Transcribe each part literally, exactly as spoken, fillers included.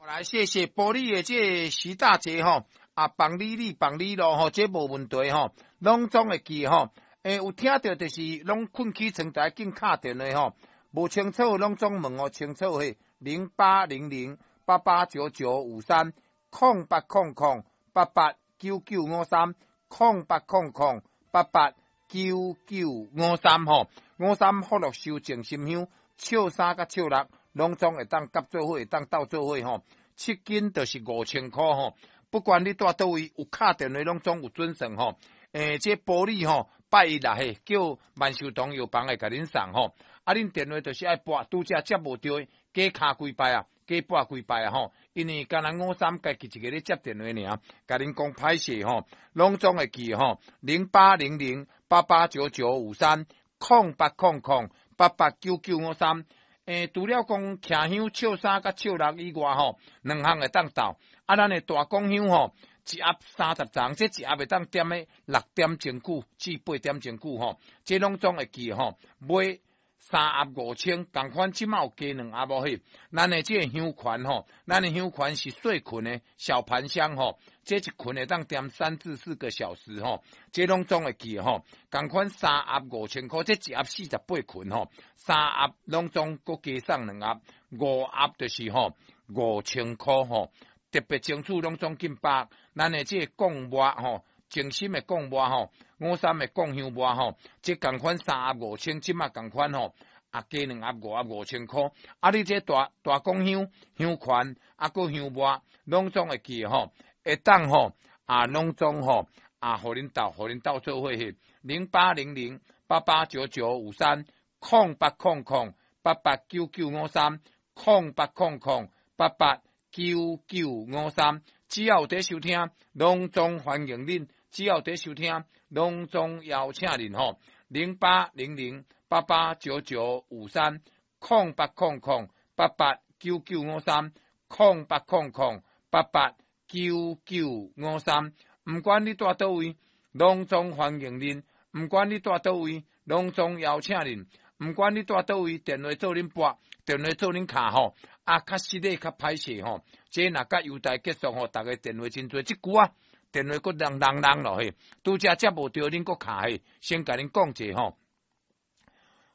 來，謝謝埔里的這个徐大姐吼，啊，放你你放你咯吼，這無問題吼，攏總會記吼。欸，有聽著就是攏睏起床就愛緊敲電話吼，無清楚攏總問予清楚嘿，零八零零八八九九五三，空八空空八八九九五三，空八空空八八九九五三吼，五三福祿壽靜心香，笑三佮笑六，攏總會當夾做伙，會當鬥做伙吼。七斤就是五千箍吼，不管你蹛佗位，有敲電話攏總有準算吼。欸，這埔里吼，拜一啦嘿，叫萬壽堂藥房會共恁送吼。啊，恁電話就是愛撥，拄才接無著，加敲幾擺啊，加撥幾擺啊吼。因為敢若五三家己一个咧接電話爾，共恁講歹勢吼，攏總會記吼，零八零零八八九九五三，空八空空八八九九五三。欸，除了講徛香笑三佮笑六以外吼，兩項會當鬥。啊，咱的大公香吼，一盒三十叢，這一盒會當點咧六點鐘久至八點鐘久吼，這攏總會記吼，買三盒五千，仝款這馬有加兩盒無嘿。咱的這个香環吼，咱的香環是細群的小盤香吼，這一群會當點三至四個小時吼，這攏總會記吼，仝款三盒五千箍，這一盒四十八群吼，三盒攏總閣加送兩盒，五盒就是吼五千箍吼。特別清楚，攏總緊撥，咱的這个貢末吼，靜心的貢末吼，五三的貢香末吼，這仝款三盒五千，這馬仝款吼，啊加兩盒五盒五千箍。啊，你這大大公香香環，啊閣香末，攏總會記吼，會當吼，啊攏總吼，啊予恁鬥，予恁鬥做伙去，零八零零八八九九五三，空八空空八八九九五三，空八空空八八九九五三，只要有佇收聽，攏總歡迎恁；只要佇收聽，攏總邀請恁吼。零八零零八八九九五三，空八空空八八九九五三，空八空空八八九九五三。毋管你蹛佗位，攏總歡迎恁；毋管你蹛佗位，攏總邀請恁；毋管你蹛佗位，電話做恁撥，電話做恁敲吼。啊，較失禮較歹勢吼，這若佮優待結束吼，逐个電話真濟，這久啊，電話閣人人人落去，拄才接無著，恁閣敲去，先共恁講者吼。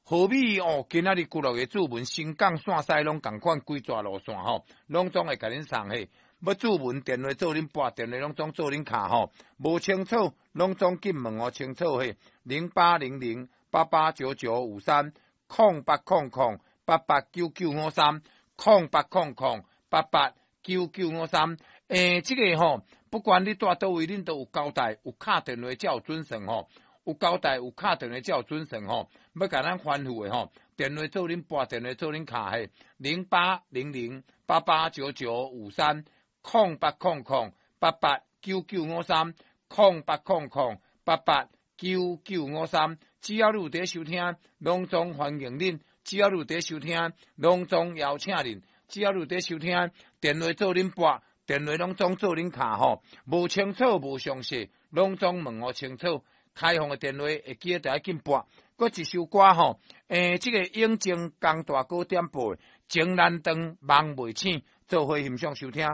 何美哦，今仔日幾落個注文，新港線西攏仝款，規逝路線吼，攏總會共恁送去。欲注文電話做恁撥，電話攏總做恁敲吼，無清楚，攏總緊問予清楚嘿。零八零零八八九九五三，空八空空八八九九五三。空八空空八八九九五三，欸，這个吼，不管你蹛佗位，恁都有交代，有敲電話才有準算吼，有交代有敲電話才有準算吼，欲共咱吩咐的吼，電話做恁撥，電話做恁敲嘿，零八零零八八九九五三，空八空空八八九九五三，空八空空八八九九五三，只要你有佇收聽，攏總歡迎恁。只要你有佇收聽，攏總邀請恁；只要你有佇收聽，電話做恁撥，電話攏總做恁敲吼。無清楚無詳細，攏總問予清楚。開放的電話會記得著愛緊撥。閣一首歌吼，欸，這个永靖江大哥點播的《情難斷，夢袂醒》，做伙欣賞收聽。